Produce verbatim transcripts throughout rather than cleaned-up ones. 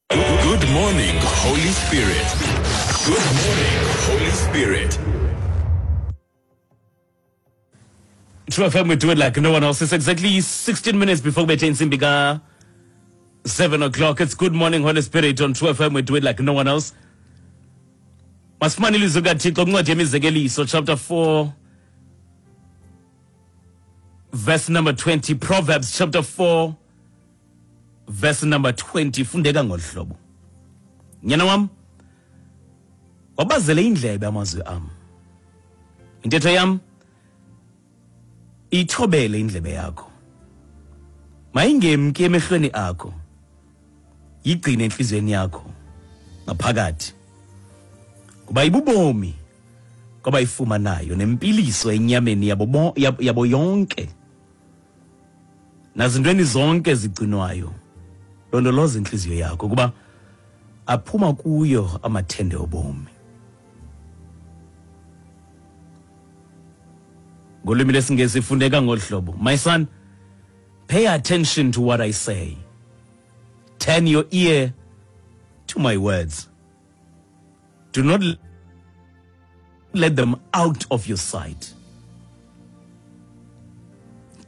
Good morning, Holy Spirit. Good morning, Holy Spirit. True F M, we do it like no one else. It's exactly sixteen minutes before we intsimbi ka seven o'clock. It's Good Morning, Holy Spirit on True F M. We do it like no one else. Masifumane ilizwi likaThixo kwincwadi yemizekeliso chapter four verse number twenty. Proverbs chapter four verse number twenty. Fundeka ngolu hlobo. Nyana wam, wabazele indlebe amazwi am. Intetho yam ithobele indlebe yakho. Mayingemki emehlweni akho. Yigcine enhliziyweni yakho ngaphakathi. Kuba ibubomi kwabayifumanayo nempiliso enyameni yabo yabo yonke. Nazintweni zonke ezigcinwayo. Londoloza inhliziyo yakho kuba aphuma kuyo amathende obomi. Ngolwimi lwesiNgesi ifundeka ngolu hlobo. My son, pay attention to what I say. Turn your ear to my words. Do not let them out of your sight.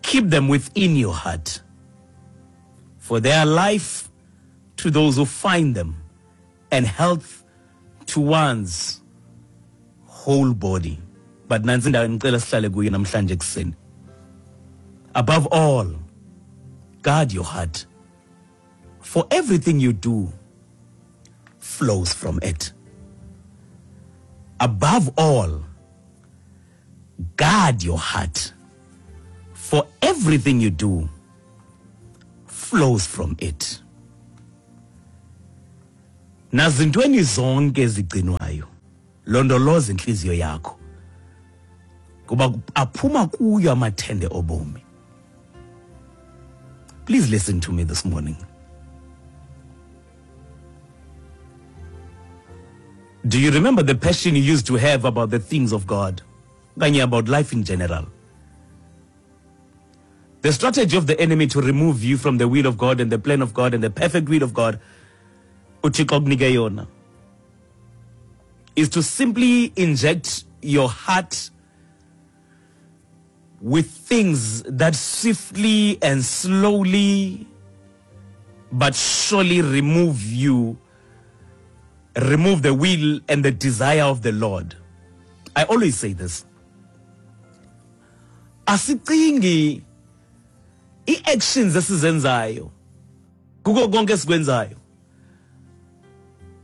Keep them within your heart, for they are life to those who find them and health to one's whole body. But nansi indawo engicela sihlale kuyo namhlanje ekuseni. Above all, guard your heart, for everything you do flows from it. Above all, guard your heart, for everything you do flows from it. Nazintweni zonke ezigcinwayo, londoloza inhliziyo yakho, kuba aphuma kuyo amathende obomi. Please listen to me this morning. Do you remember the passion you used to have about the things of God? Okanye about life in general? The strategy of the enemy to remove you from the will of God and the plan of God and the perfect will of God, uThixo akunike yona, is to simply inject your heart with things that swiftly and slowly but surely remove you, remove the will and the desire of the Lord. I always say this. Asicingi i-actions esizenzayo, kuko konke esikwenzayo,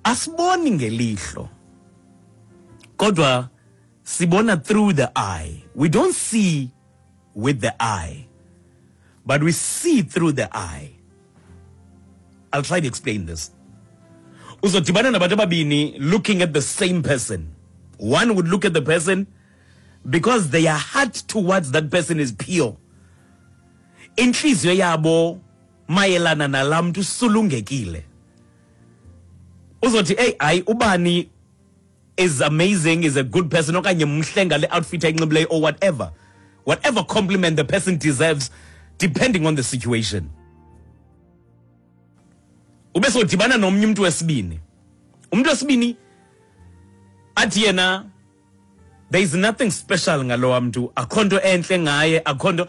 asiboni ngelihlo, kodwa sibona through the eye. We don't see with the eye, but we see through the eye. I'll try to explain this. Uzodibana nabantu ababini looking at the same person. One would look at the person because their heart towards that person is pure. Inhliziyo yabo mayelana nalamntu sulungekile. Uzothi, hey, hayi ubani is amazing, is a good person, okanye mhle ngale outfit ayinxibileyo or whatever. Whatever compliment the person deserves depending on the situation. Ube sodibana nomnye umuntu wesibini. Umuntu wesibini athi yena there is nothing special ngalowa mntu, akho nto enhle ngaye, akho nto.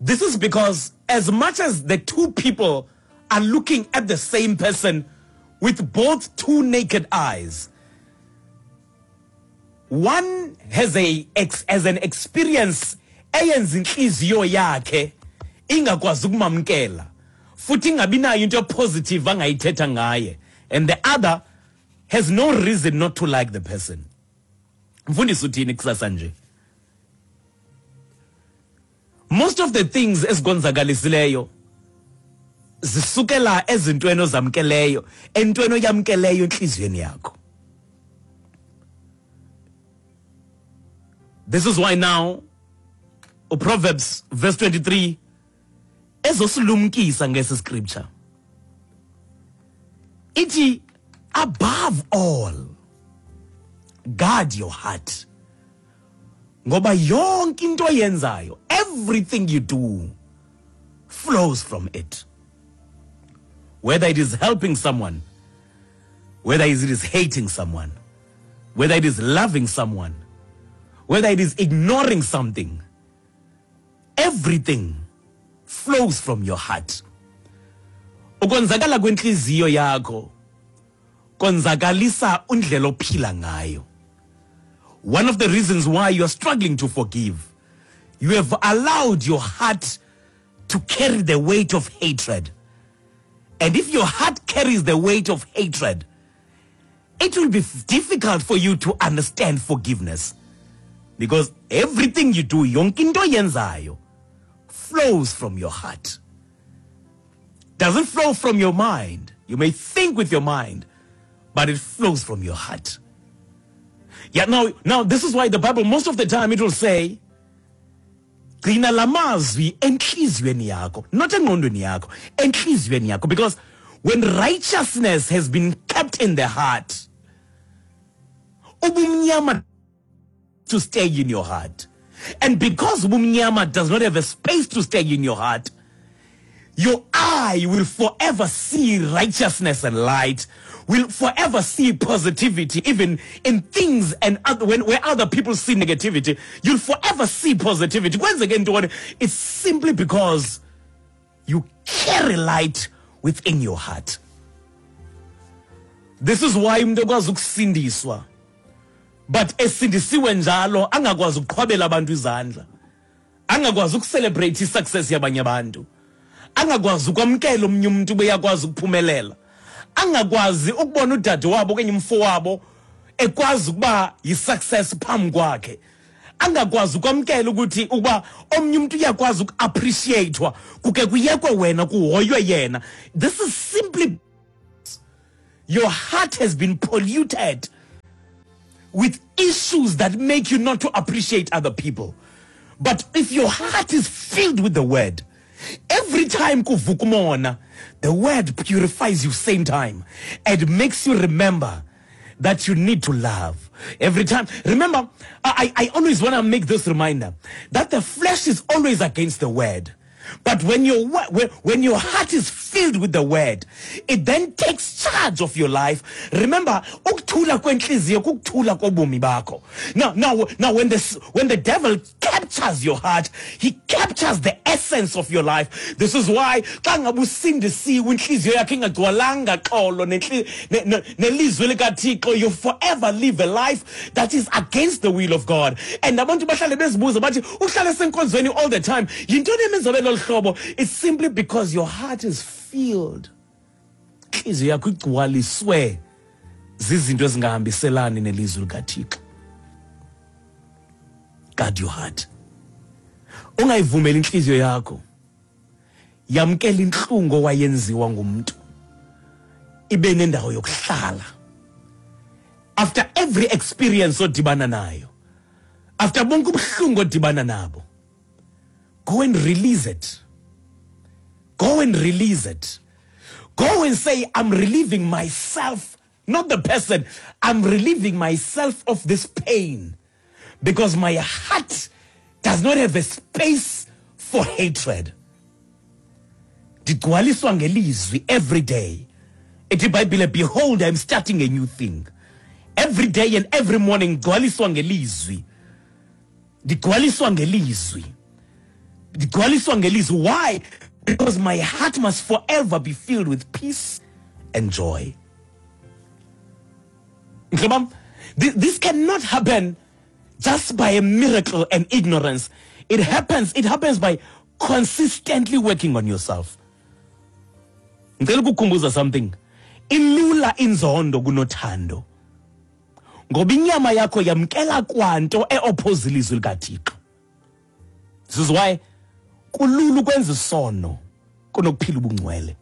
This is because as much as the two people are looking at the same person with both two naked eyes, one has a ex, as an experience eyenza inhliziyo yakhe ingakwazi ukumamkela futhi ingabi nayo into positive angayithetha ngaye, and the other has no reason not to like the person. Mfundisi uthini kusasa nje? Most of the things esikonzakalisileyo zisukela ezintweni ozamkeleyo, entweni oyamkeleyo enhliziyweni yakho. This is why now Proverbs verse twenty-three ezosilumkisa ngesi scripture. Ithi, above all, guard your heart, ngoba yonke into oyenzayo, everything you do flows from it. Whether it is helping someone, whether it is hating someone, whether it is loving someone, whether it is ignoring something, everything flows from your heart. Ukonzakala kwenhliziyo yakho konzakalisa undlela ophila ngayo. One of the reasons why you are struggling to forgive, you have allowed your heart to carry the weight of hatred. And if your heart carries the weight of hatred, it will be difficult for you to understand forgiveness. Because everything you do, yonke into oyenzayo, flows from your heart. Doesn't flow from your mind. You may think with your mind, but it flows from your heart. Yeah, now, now this is why the Bible, most of the time, it will say, gcina lamazwi enhliziyweni yakho, not engqondweni yakho, enhliziyweni yakho. Because when righteousness has been kept in the heart, ubumnyama to stay in your heart. And because ubumnyama does not have a space to stay in your heart, your eye will forever see righteousness and light, will forever see positivity, even in things and other, when, where other people see negativity, you'll forever see positivity. Once again, it's simply because you carry light within your heart. This is why umuntu ekwazi ukusindiswa, but esindisiwe njalo angakwazi ukuqhwabela abantu izandla, angakwazi ukucelebrate isuccess yabanye abantu, angakwazi ukwamkela omnye umuntu beyakwazi ukuphumelela, angakwazi ukubona udade wabo okanye umfo wabo ekwazi ukuba yi-success phambi kwakhe, angakwazi ukwamkela ukuthi ukuba omnye umuntu uyakwazi uku-appreciate-wa kuke kuyekwe wena kuhoywe yena. This is simply your heart has been polluted with issues that make you not to appreciate other people. But if your heart is filled with the word, every time kuvuka umona, the word purifies you same time and makes you remember that you need to love. Every time, remember, I, I always want to make this reminder that the flesh is always against the word. But when your, when, when your heart is filled with the word, it then takes charge of your life. Remember, ukuthula kwenhliziyo kukuthula kobomi bakho. Now, now, now when the, when the devil captures your heart, he captures the essence of your life. This is why xa ngabe usindisiwe inhliziyo yakho ingagcwalanga xolo nelizwi likaThixo, you forever live a life that is against the will of God. And abantu bahlale bezibuza bathi uhlale senkonzweni all the time. Yintoni emenza abe lolu hlobo? It's simply because your heart is filled. Inhliziyo yakho igcwaliswe zizinto ezingahambiselani nelizwi likaThixo. Guard your heart. Ungayivumeli inhliziyo yakho yamkela inhlungu owayenziwa ngumuntu ibe nendawo yokuhlala. After every experience odibana nayo, after bonke ubuhlungu odibana nabo, go and release it. Go and release it. Go and say, I'm relieving myself, not the person. I'm relieving myself of this pain because my heart does not have a space for hatred. Ndigcwaliswa ngelizwi every day. Ithi iBhayibhile, behold, I'm starting a new thing. Every day and every morning, ndigcwaliswa ngelizwi. Ndigcwaliswa ngelizwi. Ndigcwaliswa ngelizwi. Why? Because my heart must forever be filled with peace and joy. This cannot happen just by a miracle and ignorance. It happens, it happens by consistently working on yourself. Ngicela ukukukhumbuza something. Ilula inzondo kunothando. Ngoba inyama yakho yamkela kwanto e-oppose ilizwi likaThixo. This is why kulula ukwenza isono kunokuphila ubungcwele.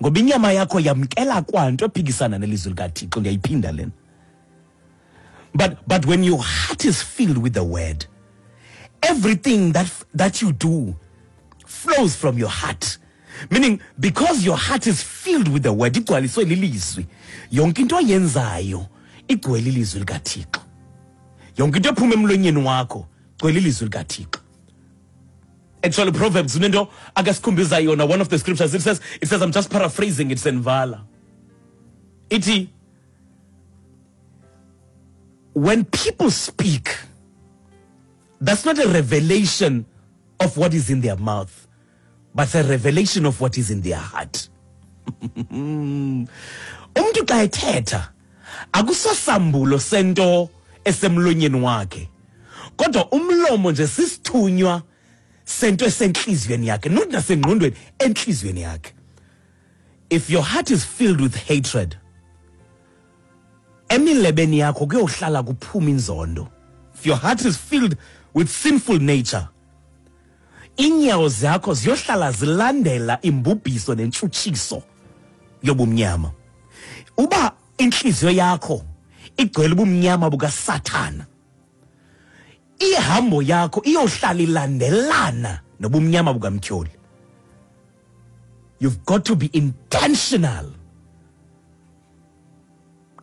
Ngoba inyama yakho yamkela kwanto ephikisana nelizwi likaThixo. Ngiyayiphinda lena. But, but when your heart is filled with the word, everything that, that you do flows from your heart. Meaning, because your heart is filled with the word, igcwaliswe lilizwi. Yonke into oyenzayo igcwele ilizwi likaThixo. Yonke into ephuma emlonyeni wakho igcwele ilizwi likaThixo. Actually, Proverbs, unento akasikhumbiza yona, one of the scriptures, it says, it says, I'm just paraphrasing it, senvala. Ithi, when people speak, that's not a revelation of what is in their mouth, but a revelation of what is in their heart. Umntu xa ethetha, akusosambulo sento esemlonyeni wakhe, kodwa umlomo nje sisithunywa sento esenhliziyweni yakhe, not nasengqondweni, enhliziyweni yakhe. If your heart is filled with hatred, emilebeni yakho kuyohlala kuphuma inzondo. If your heart is filled with sinful nature, inyawo zakho ziyohlala zilandela imbubhiso nentshutshiso yobumnyama. Uba inhliziyo yakho igcwele ubumnyama bukaSathana, ihambo yakho iyohlala ilandelana nobumnyama bukamtyholi. You've got to be intentional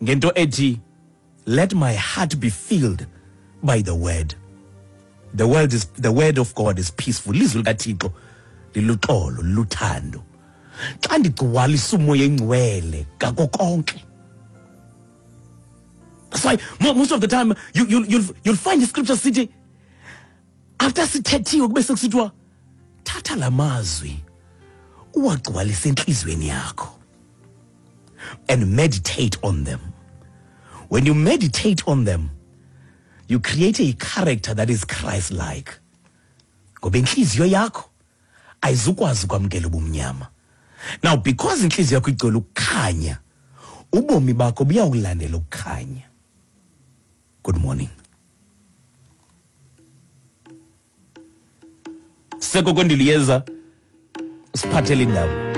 ngento ethi, let my heart be filled by the word. The word is, the word of God is peaceful. Lizwi likaThixo liluxolo, luthando. Xa ndigcwalisa uMoya Engcwele ngako konke. That's why most of the time you, you, you'll, you'll find the scripture sithi, after sithethiwe kube sekusithiwa, thatha lamazwi uwagcwalise enhliziyweni yakho and meditate on them. When you meditate on them, you create a character that is Christ-like. Ngoba inhliziyo yakho ayizukwazi ukwamkela ubumnyama. Now, because inhliziyo yakho igcwele ukukhanya, ubomi bakho buyawulandela ukukhanya. Good morning. Seko kondiliyeza, siphathele indaba.